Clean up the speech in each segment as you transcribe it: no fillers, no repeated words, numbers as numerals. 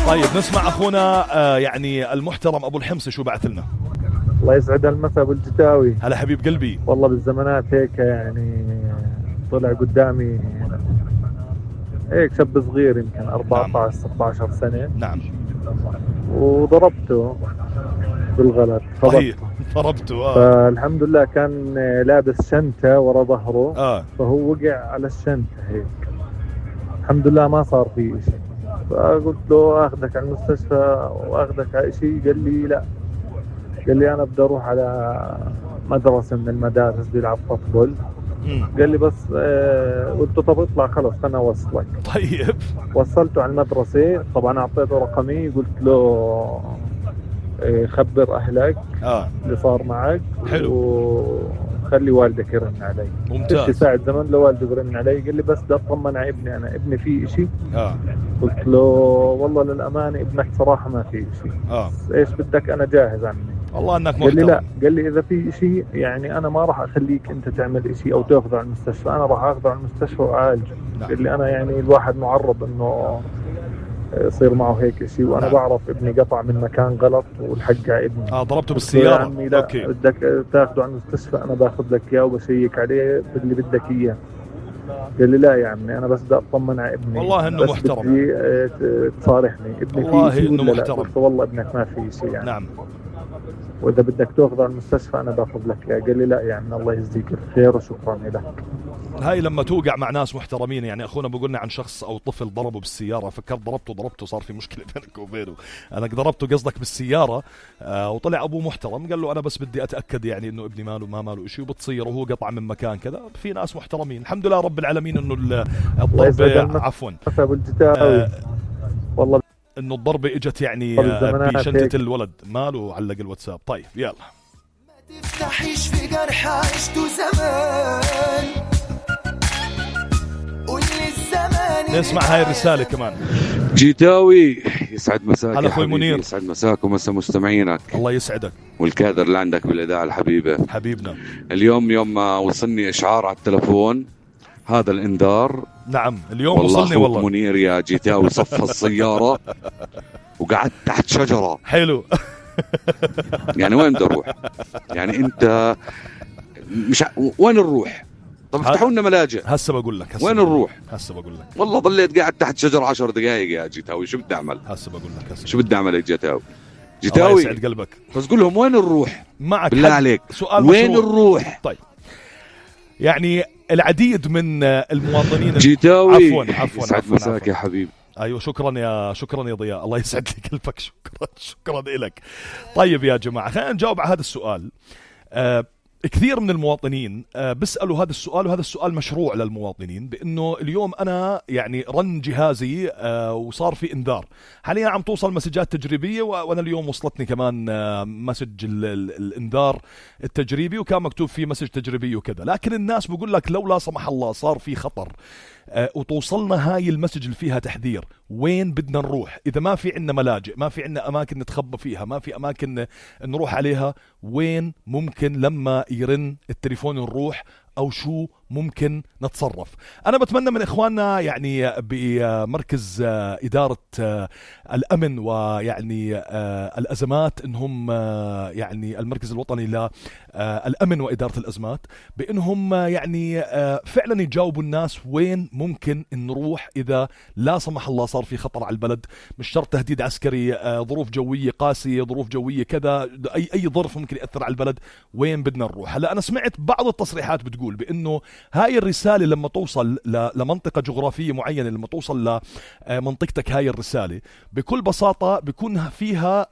طيب نسمع أخونا يعني المحترم أبو الحمص شو بعث لنا. الله يسعد المساء أبو الجتاوي. هلا حبيب قلبي. والله بالزمانات هيك يعني طلع قدامي هيك شاب صغير يمكن 14-16 سنة. نعم. وضربته بالغلط. طيب ضربته فالحمد لله كان لابس شنطة ورا ظهره. فهو وقع على الشنطة هيك. الحمد لله ما صار فيه شيء. فقلت له اخذك على المستشفى واخذك على شيء. قال لي لا، قال لي انا بدي اروح على مدرسة من المدارس بيلعب فوتبول. قال لي بس قلت له طب اطلع خلص انا اوصلك. طيب وصلته على المدرسة. طبعا اعطيته رقمي قلت له خبر اهلك اللي صار معك. حلو. وخلي والدك يرن علي. ممتاز. ساعة زمن لوالدي يرن علي. قال لي بس بدي اطمن على ابني، انا ابني فيه اشي. قلت له والله للامانة ابنك صراحة ما فيه اشي. ايش بدك انا جاهز عني. والله انك محترم. قال لي لا، قال لي اذا في شيء يعني انا ما راح اخليك انت تعمل شيء او تاخذه على المستشفى، انا راح اخذه على المستشفى واعالجه. قال لي انا يعني الواحد معرض انه يصير معه هيك شيء، وانا بعرف ابني قطع من مكان غلط والحق على ابني. ضربته بالسيارة. يا عمي لا، أوكي. بدك تاخذه على المستشفى انا باخذ لك اياه وبشيك عليه باللي بدك اياه. قال لي لا يا عمي انا بس بدي اطمن على ابني. والله انه محترم. بدي تصارحني ابني والله فيه شيء انه ولا محترم. لا؟ قلت والله ابنك ما فيه شيء يعني. نعم. واذا بدك تاخذه على المستشفى انا باخذ لك اياه. قال لي لا يعني الله يجزيك الخير وشكرا لك. هاي لما توقع مع ناس محترمين. يعني اخونا بقولنا عن شخص او طفل ضربه بالسياره، فكرت ضربته صار في مشكله بينك وبينه. انا ضربته قصدك بالسياره. وطلع ابوه محترم قال له انا بس بدي اتاكد يعني انه ابني ماله ما ماله شيء، وبتصير وهو قطع من مكان كذا. في ناس محترمين الحمد لله رب العالمين انه الضربه عفوا والله انه الضربه اجت يعني بشنطه الولد ماله. علق الواتساب. طيب يلا. ما تفتحيش في جرح عشته زمان. قول لي الزمان. نسمع هاي الرساله كمان. جيتاوي يسعد مساك. هلا اخوي منير. يسعد مساك ومسا مستمعينك. الله يسعدك. والكادر اللي عندك بالاذاعه الحبيبه حبيبنا. اليوم يوم ما وصلني اشعار على التلفون هذا الانذار. نعم اليوم وصلني والله. منير يا جيتاوي صف السياره وقعدت تحت شجره. حلو. يعني وين بدي اروح؟ يعني انت مش وين نروح؟ طب افتحوا لنا ملاجئ. هسه بقول لك. وين نروح؟ هسه بقول لك. والله ضليت قاعد تحت شجره 10 دقائق يا جيتاوي. شو بدي اعمل؟ هسه بقول لك. شو بدي اعمل يا جيتاوي؟ الله يسعد قلبك. بس قول لهم وين نروح؟ معك بالله عليك سؤال وين نروح؟ طيب يعني العديد من المواطنين جيتاوي عفوا يسعد مساك يا حبيبي. ايوه شكرا يا ضياء. الله يسعد لي قلبك. شكرا لك. طيب يا جماعه خلينا نجاوب على هذا السؤال. كثير من المواطنين بيسألوا هذا السؤال، وهذا السؤال مشروع للمواطنين، بأنه اليوم أنا يعني رن جهازي وصار في إنذار. حاليا عم توصل مسجات تجريبية، وأنا اليوم وصلتني كمان مسج الإنذار التجريبي، وكان مكتوب فيه مسج تجريبي وكذا. لكن الناس بقول لك لو لا سمح الله صار في خطر وتوصلنا هاي المسج اللي فيها تحذير، وين بدنا نروح؟ إذا ما في عنا ملاجئ، ما في عنا أماكن نتخبى فيها، ما في أماكن نروح عليها، وين ممكن لما يرن التليفون نروح؟ أو شو ممكن نتصرف؟ أنا بتمنى من إخواننا يعني بمركز إدارة الأمن ويعني الأزمات إنهم يعني المركز الوطني للأمن وإدارة الأزمات بإنهم يعني فعلا يجاوبوا الناس وين ممكن نروح إذا لا سمح الله صار في خطر على البلد. مش شرط تهديد عسكري، ظروف جوية قاسية، ظروف جوية كذا، أي ظرف ممكن يأثر على البلد، وين بدنا نروح؟ هلا أنا سمعت بعض التصريحات بتقول بأنه هاي الرسالة لما توصل لمنطقة جغرافية معينة، لما توصل لمنطقتك هاي الرسالة بكل بساطة بيكون فيها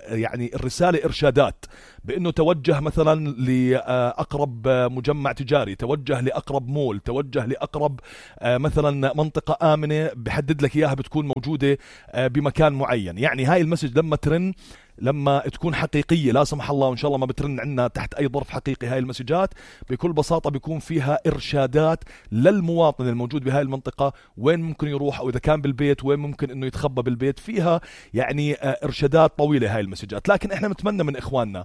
يعني الرسالة إرشادات بأنه توجه مثلا لأقرب مجمع تجاري، توجه لأقرب مول، توجه لأقرب مثلا منطقة آمنة بحدد لك إياها بتكون موجودة بمكان معين. يعني هاي المسج لما ترن، لما تكون حقيقية لا سمح الله وإن شاء الله ما بترن عنا تحت أي ظرف حقيقي، هاي المسجات بكل بساطة بيكون فيها إرشادات للمواطن الموجود بهاي المنطقة وين ممكن يروح، أو إذا كان بالبيت وين ممكن إنه يتخبى بالبيت. فيها يعني إرشادات طويلة هاي المسجات. لكن إحنا نتمنى من إخواننا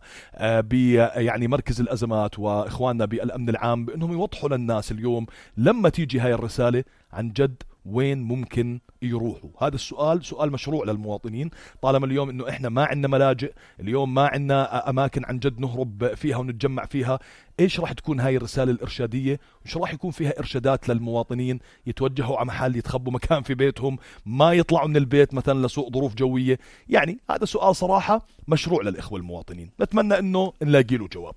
يعني مركز الأزمات وإخواننا بالأمن العام بأنهم يوضحوا للناس اليوم لما تيجي هاي الرسالة عن جد وين ممكن يروحوا؟ هذا السؤال سؤال مشروع للمواطنين، طالما اليوم انه احنا ما عندنا ملاجئ، اليوم ما عندنا اماكن عن جد نهرب فيها ونتجمع فيها. ايش راح تكون هاي الرسالة الارشادية؟ وش راح يكون فيها ارشادات للمواطنين يتوجهوا على محل، يتخبوا مكان في بيتهم، ما يطلعوا من البيت مثلا لسوء ظروف جوية؟ يعني هذا سؤال صراحة مشروع للإخوة المواطنين، نتمنى انه نلاقي له جواب.